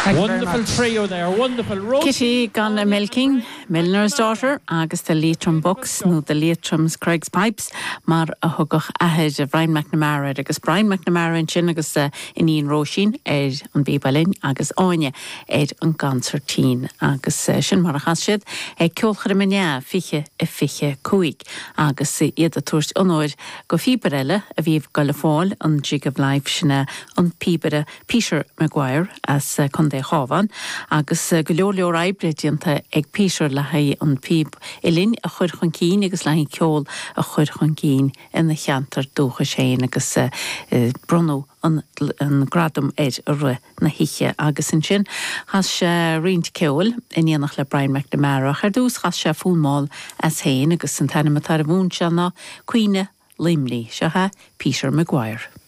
Thank you very Wonderful much. trio there, wonderful. Róisín, Kitty gan Áine and Milking, Brian Milliner's McNamara. Daughter agus The Leitrim Bucks nó The Leitrim's Creggs Pipes mar a thugadh athair Brian McNamara air agus Brian McNamara ansin agus a iníon Róisín ar an bpíb uilleann agus Áine ar an gconsairtín agus sin mar a chas siad ag Ceolchoirm an EA 2025 agus iad ag tabhairt onóir go phíobaire eile a bhí ag goil ag fáil an Jig of Life, sin é an píobaire Peter Maguire as Contae Chábháin agus go leor leor oibre déanta ag Peter le haghaidh an phíb uilleann a chur chun cinn agus le haghaidh an ceol a chur chun cinn ina cheantar dúchais féin agus bronnadh an gradam air i rith na hoíche agus ansin chas sé roinnt ceoil in éineacht le Brian McNamara ach ar dtús chas sé fonn mall as féin agus an t-ainm atá ar an bhfonn seo ná Caoineadh Luimnigh. Seo é Peter Maguire.